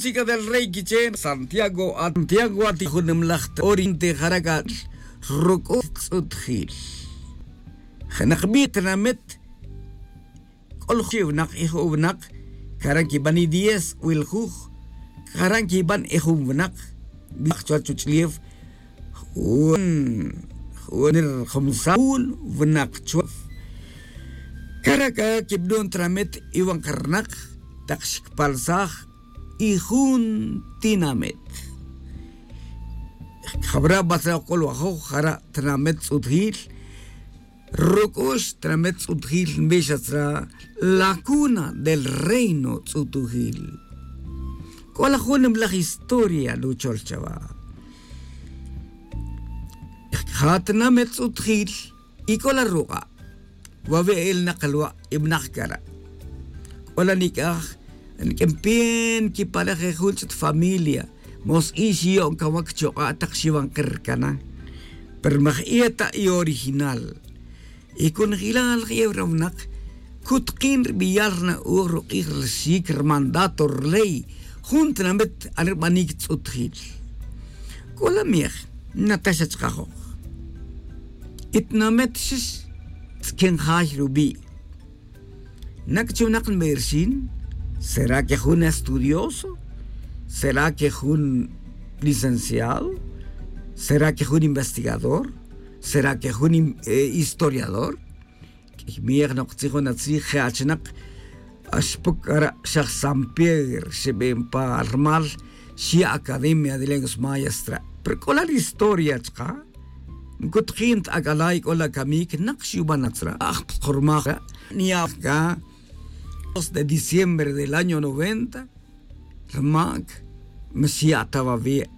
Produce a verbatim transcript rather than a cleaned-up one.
Chica del rey quiche santiago santiago ati junimlaj ta oriente jara' c'a ruc'u' tz'utjil. Jenak bi' tinamet c'ol jun winak y jun winak. Caran quiban y diez wiljuj. Caran quiban y jun winak. Winak chuwach chuch'ulef jun jun ri jumsal jun winak chuwach. Cara' c'a quibnun tinamet iwan karnak tak xquipalsaj y jun tinamet. Jabra' batzra' c'olwajoj jara' tinamet tz'utjil. Ruc'ux tinamet tz'utjil nbixatzra la cuna del reino tz'utujil. C'o la jun nimlaj historia nuchol chawa. Ja tinamet tz'utjil y c'o la ruk'a' wawe' elnak lwa' ibnak cara'. C'o la nic'aj niq'uin pe nquipalej e jun ch'ut familia. Mos ix yo'on cawac chok'a' tak xiwan kercana. Pero maj iyeta' y original y cun jilal je'ew rawnak. Cutkin ri biyal ri na'oj ruk'ij ri xic ri mandato ri ley jun tinamet are ri banic tz'utjil. C'o la miej nataxa chkajoj. Y tinamet xix tz'quin jay rubi'. Nac chi winak nberxin? Será que jun estudioso? Será que jun licenciado? Será que jun investigador? Será que jun historiador? Q'uiy miyej noktzij jun atzij je' achinak. Xpuc cara' xaj san pier xeben pa rmal xya' academia de lenguas mayas tra'. Pero c'o la ri historia chka'. Ncutjin ta ac'alay c'o la camic nak xyuban atzra' aj ptzkormaj ra'. Niyaj ca dos de diciembre del año noventa. Rmac mixya' ta wawi'.